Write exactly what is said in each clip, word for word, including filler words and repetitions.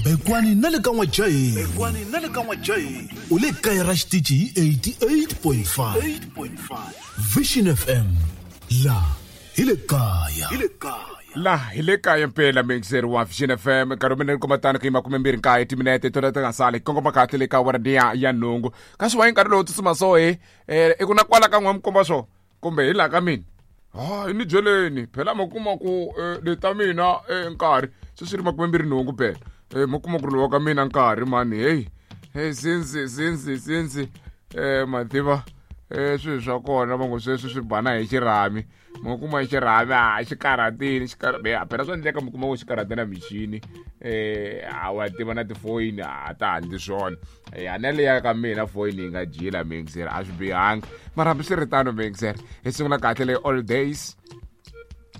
Bekwani na le ka N'wajahi. Bekwani na le ka N'wajahi. U le kaya ra xitichi hi eighty-eight point five. eight point five. Vision F M. La hi le kaya. Hi le kaya. La hi le kaya mpela mixer wa Vision F M nkarhi mina ni kuma tano ku yima khume mbirhi nkaye timinete tona ti nga sali kongoma kahle le ka awara liya ya nhungu kasi wa hi nkarhi lowu tsutsuma so he eh i ku na kwala ka n'we mi komba swo kumbe hi laha ka mina hayi ni byeleni phela mi kuma ku le ta mina nkarhi se swi ri makume mbirhi nhungu phela eh mi kuma ku ri lowa ka mina nkarhi mani hey hey since since since eh mativa eh swilo swa kona va ngo sweswi swi bana hi xirhami mi kuma hi xirhami a xi karhatini xi karha phela swa endleka mi kuma ku xi karhate na michini eh a wa tiva na tifoyini a ta handli swona ya na leya ka mina foyini yi nga jila mixer a swi bihanga mara hambiswiritano mixer hi sungula kahle le all days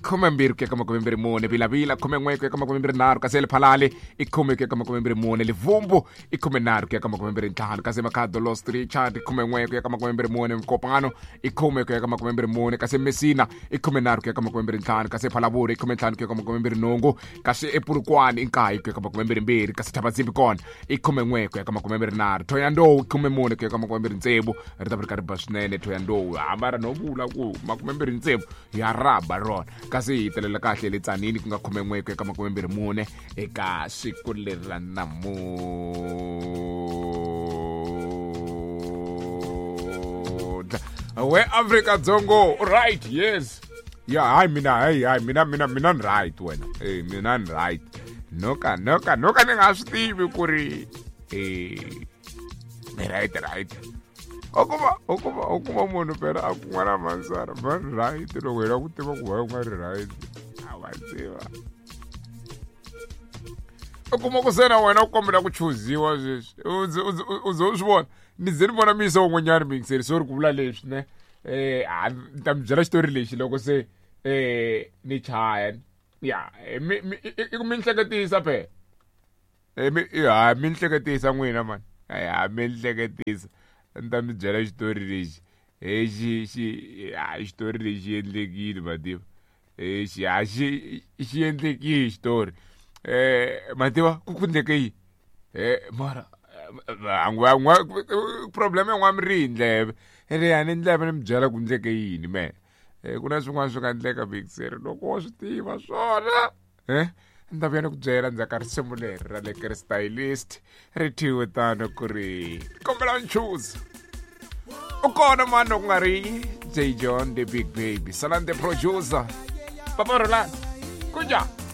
khume mbirhi ku ya ka makume mbirhi mune Vilavila khume n'we ku ya ka makume mbirhi nharhu kasi Lephalale i khume ku ya ka makume mbirhi mune Livumbu i khume nharhu ku ya ka makume mbirhi ntlhanu kasi Makhado Lost Richard i khume n'we ku ya ka makume mbirhi mune Mkopano i khume ku ya ka makume mbirhi mune kasi Messina i khume nharhu ku ya ka makume mbirhi ntlhanu kasi Phalaburi i khume ntlhanu ku ya ka makume mbirhi nhungu kasi ePurukwani i nkaye ku ya ka makume mbirhi mbirhi kasi Thabazimbi kona i khume n'we ku ya ka makume mbirhi nharhu Thohoyandou i khume mune ku ya ka makume mbirhi tsevu ri ta va ri karhi ba swinene Thohoyandou hamba ra no vula ku makume mbirhi tsevu ya raba rona kasi hi telela kahle le Tsanini ku nga khume n'we ku ya ka makume mbirhi mune eka siku leri ra namuntlha we Afrika Dzongo right yes ya hayi mina hayi hayi mina mina mina ni right wena eh mina ni right noka noka noka ni nga swi tivi ku ri eh ni right right u kuma u kuma u kuma munhu phela a ku n'wana mansara va ri right loko hi lava ku tiva ku va u nga ri right a wa tiva u kuma ku se na wena u kombela ku chuziwa sweswi u ze u ze u swi vona ni ze ni vona miyisa wun'wanyana mixeri so ri ku vula leswi ne eh a ni ta mi byela xitori lexi loko se eh ni chaya ya mi i ku mi hleketisa phela eh mi ha mi hleketisa n'wina mani ya mi hleketisa ni ta mi byela xitori lexi he xi xi ha xitori lexi endlekile mativa eh xi ha xi xi endlekile xitori eh mativa ku ku endleke yini eh mara a problem ya n'wa mi ri hi ndleve ene ya ni ndleve ni mi byela ku endleke yini me eh ku na swin'wana swi nga endleka mixer loko wa swi tiva swona eh ni ta vuya ni ku byela ndzhaku ka risimu leri ra le ka stylist ri thyiwe tano ku ri kombela nchuza u kona mani loko ku nga ri J John the Big Baby Salan the producer Papa Roland kunjani.